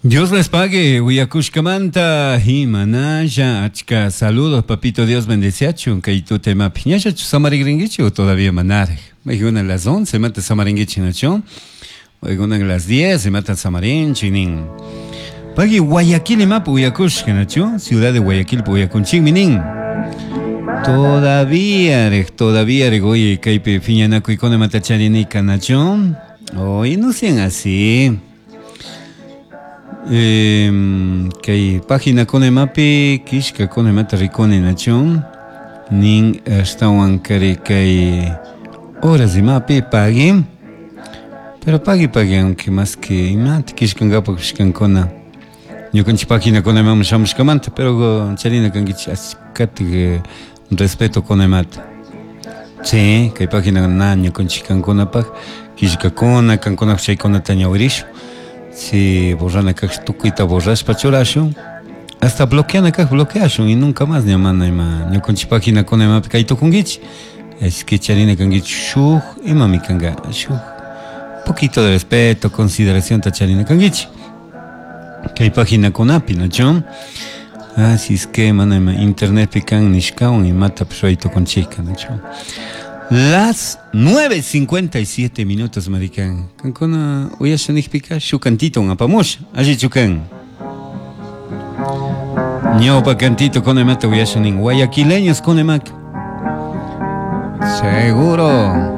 Dios les pague, uyakushkamanta imanalla achka saludos, papito Dios bendeciachun, kay tutemapi. Ñashachu samarigringuichi o todavía manaraj? Maykuna las 11 mata samaringuichi nachu? Maykuna las 10 mata samarinchi nin. Pagui Guayaquil imapi uyakushka nachu? Ciudad de Guayaquil uyakunchikmi nin. Todavía, rej, todavía, rej, oye, kaypi phiñanakuykuna mata charinika nachu? Oye, no sean así. Kay página imapi kishkakuna imata rikuni nachu nin ashtawan kari kay horas imapi pagui pero pagui pagui aunque más que imata kishkankapak kishkankuna ñukanchik página imaman shamushkamanta pero charina kankichik ashkatik respeto kuna imata sí kay página na ñukanchik kankunapak killkakuna kankunapak chaykunata ñawirishun. Si borrana kaq tukuyta borrashpa churashun hasta bloqueana kaq bloqueashun y nunca más ña mana ima ñukanchik paginakuna imapi kay tukunkichik. Es que charina kankichik shuk imami kanka shuk poquito de respeto, consideración ta charina kankichik kay paginakunapi, nachu? Así es que mana ima internetpi kan nishkawan imatapish ruray tukunchikka, nachu? Las 9:57 minutos, maricán. Kankuna uyasha nijpika shuk cantito apamusha. Allichu kan. Ñawpa cantito con imata uyasha nin. Guayaquileños con imaka. Seguro.